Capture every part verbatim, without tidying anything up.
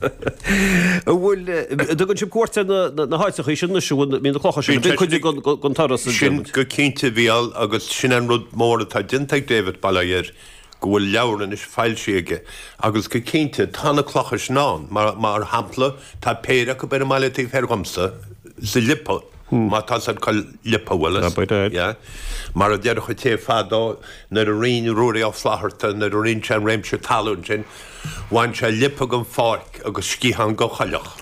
An bhfuil, an dtugann sibh cuairt ar na háiteacha sin anois, an bhfuil na clocha sin, bíonn cuid den turas a Sin go cinnte, a Mhícheáil, agus sin an rud mór atá déanta ag David, bail ó Dhia air, go bhfuil leabhar anois foilsithe aige agus go cinnte tá na clocha sin ann. Mar shampla, tá péire acu ar an mbaile taobh thoir dhomsa, sa liopa, má tá siad cá liopa, bhfuil fhios? Yeah. Mar a déarfadh an té fadó, nuair a roinn Ruairí Ó Flaithearta, nuair a roinn sé an réimse talún sin, bhain sé liopa den pháirc agus sciathán den choileach.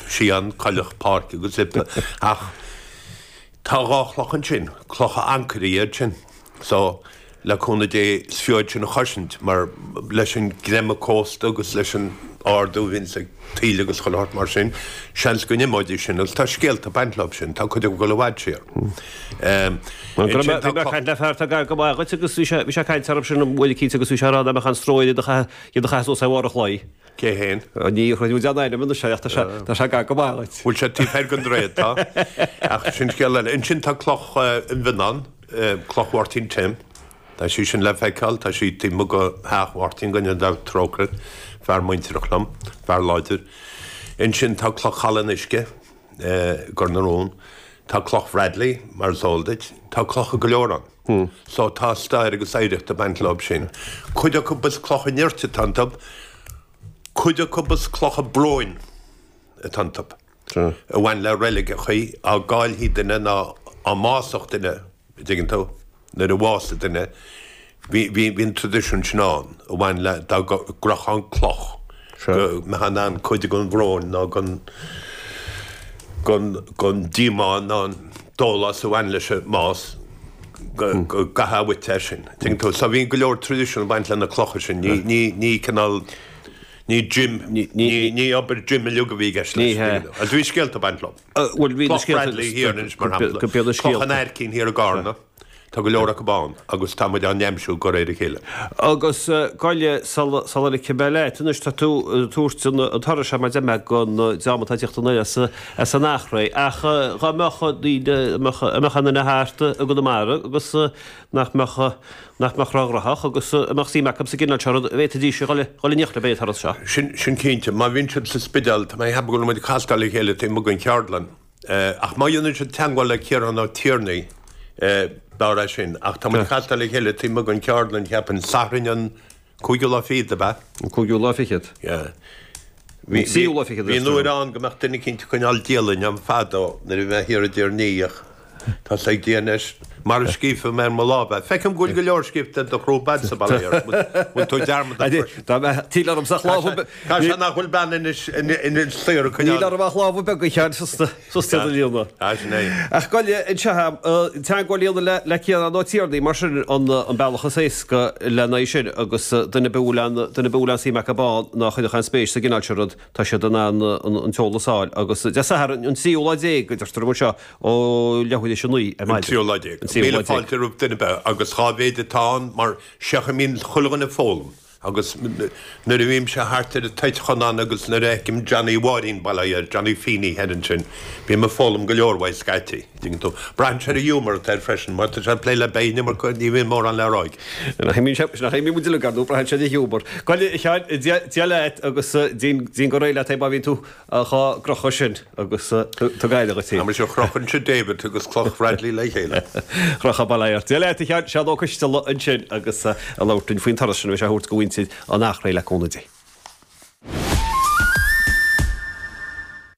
Sciathán, coileach, páirc agus liopa. Ach tá dhá chloch ansin, clocha ancaire iad sin. So, le cúnamh Dé, is fiú iad sin a chosaint, mar leis an gcreimeadh cósta agus leis an ardú a bhíonns ag taoille agus chuile shórt mar sin, seans go n-imeoidís sin agus tá scéalta ag baint leo sin, tá cuid acu ag dul i bhfad siar. Bhí mé ag caint le fear atá gar go maith dhuit agus bhí sé ag caint orthu sin an bhfuil cinnte agus bhí sé ag rá nach mbeadh aon stró air iad a chaitheamh suas ar bharr an chlaí. Cé fhéin? Ní chuirfidh muid aon ainm anois air ach tá sé gar go maith dhuit. Bhfuil sé taobh thoir den droichead, tá. Ach sin scéal eile. Ansin tá cloch an Mhionnáin, Cloch Mháirtín Tim. Tá sí sin le feiceáil, tá sí taobh amuigh de theach Mháirtín, go ndéana Dia trócaire air, fear muintearach liom, fear láidir. Ansin tá Cloch Chaladh an Uisce i gCor na Rón. Tá Cloch Bhradley, mar is eol duit. Tá clocha go leor ann. So tá stair agus oidhreacht ag baint leo sin. Cuid acu is clocha nirt atá iontu, cuid acu is clocha bróin atá iontu, a bhain le reiligeachaí, á gcaillthí duine nó á mbásódh duine. An dtuigeann tú, nuair a bhásaigh duine, bhí, bhí, bhí an traidisiún sin ann a bhain le, dá gcrochfá an cloch, go mbeifeá in ann cuid den bhrón nó den, den, den díomá nó an dólás a bhain leis an mbás, go, go gcaithfeá uait é sin. An dtuigeann tú? So bhí go leor traidisiún ag baint le na clocha sin. Ní, ní, ní cineál, ní gym, ní, ní obair gym uilig a bhí i gceist leis. Ní hea. Agus bhí scéalta ag baint leo. Bhuel, bhí na Cloch scéalta Bradley thiar anois, mar shampla. Cloch scéalta. an Aircín thiar i gCarna. Tá go leor acu ann agus tá muid á n-aimsiú de réir a chéile. Agus gabh sula sula ligfidh mé leat anois, tá tú ag tabhairt an turais seo mar deir mé don dream atá ag tíocht anoir as as an Eachréidh. Ach dhá mbeadh daoine, mbeadh mbeadh aon duine thart i gConamara agus nach mbeadh nach mbeadh róghnóthach agus a mbeadh suim acu sa gcineál seo rud, bhféadfaidís a dhul dhul in éineacht libh ar an turas seo. Sin sin cinnte. Má bhíonn siad sa Spidéal, tá mé ag ceapadh go bhfuil muid ag castáil le chéile taobh amuigh den cheardlann. Ach má dhéanann siad teagmháil le Ciarán Ó Tiarnaigh, b'fhearr é sin. Ach tá muid ag castáil le chéile taobh amuigh den cheardlann, cheapfainn, Satharn an cúigiú lá fichead, ab ea? An cúigiú lá fichead. Yeah. Bhí An tríú lá fichead, bhí an uair ann go mbeadh duine eicínt ag coinneáil dialann agam fadó nuair a bhí mé thiar i dTír an Fhia ach tá sé ag Dia anois mar a scríobhfaidh mé ar mo lámh é. Feicim go bhfuil go leor scríobhta ar do chrúb a'dsa, bail ó Dhia ort. Bhfuil tú dearmadach freisin? Dá mbeadh, níl orm ach lámha Tá sé nach bhfuil bean Inis Inis saor ag coinneáil. Níl orm ach lámha beaga a Sheáin suas iad a líonadh. Ah, sin é. Ach gabh i leith anseo, teagmháil a dhéanamh le Ciarán Ó Tiarnaigh, mar sin an bealach is éasca lena aghaidh sin agus duine ar bith a bhfuil aon duine ar bith a bhfuil aon suim acu ann ná chuirfeadh aon spéis sa gcineál seo rud, tá siad in ann an t-eolas a fháil agus Dé Sathairn an tríú lá déag a deirtear anseo ó leathuair théis a naoi ar An maidin. tríú lá déag. An tríú Míle lá déag. fáilte roimh duine ar bith agus dhá mhéid atá ann mar seach a mbíonn chuile dhuine ag foghlaim agus nuair a bhímse thart ar an toit Chonán agus nuair a fheicim Johnny Mháirín, bail ó Dhia air, Johnny Feeney thoir ansin, bím ag foghlaim go leor uaidh scaití, dtuigeann tú. Braitheann sé ar an ghiúmar atá air freisin, má tá sé ag plé le beidh an iomarca, ní bhíonn mórán le rá aige. Nach imíonn muid uilig, ar ndóigh, braitheann sé ar an ghiúmar. Gabh i leith, a Sheáin, Dia leat agus déan go réidh leat é má bhíonn tú dhá gcrochadh sin agus tug aire dhuit féin. Tá mise a chrochann David agus Cloch Bradley le chéile. Crochadh bail ó Dhia ort. Dia leat a Sheáin, Seán Ó Coisteala ansin agus ag labhairt linn faoin turas sin a bheidh sé a thabhairt do mhuintir an Eachréidh le cúnamh Dé.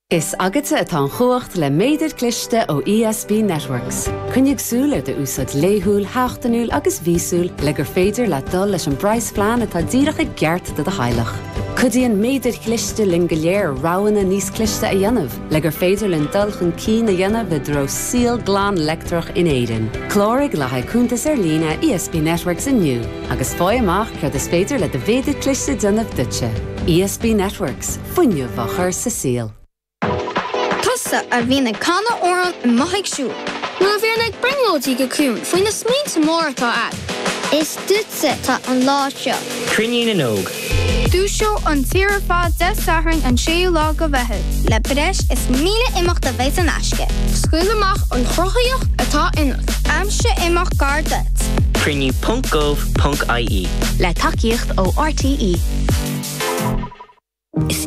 Is agatsa atá an chumhacht le méadar cliste ó ESB Networks. Coinnigh súil ar d'úsáid laethúil, sheachtainiúil agus mhíosúil le gur féidir leat dul leis an bpraghasphlean atá díreach i gceart do do theaghlach. Cuidíonn méadair chliste linn go léir roghanna níos cliste a dhéanamh le gur féidir linn dul chun cinn a dhéanamh i dtreo saol glan leictreach in Éirinn. Cláraigh le haghaidh cuntas ar líne ESB Networks inniu agus faigh amach céard is féidir le do mhéadar cliste déanamh duitse. ESB Networks, fuinneamh á chur sa saol. Tusa a bhíonn ag canadh amhrán amuigh ag siúl. Nó a bhíonn ag brionglóidí go ciúin faoi na smaointe móra atá agat. Is duitse atá an lá seo. Cruinniú na nÓg. Dúiseoidh an tír ar fad Dé Sathairn an séú lá de Mheitheamh. Le breis is míle imeacht a bheidh in aisce. Scaoil amach an chruthaíocht atá ionat. Aimsigh imeacht gar duit. Cruinniú ponc gov ponc ie. Le tacaíocht ó RTÉ. Is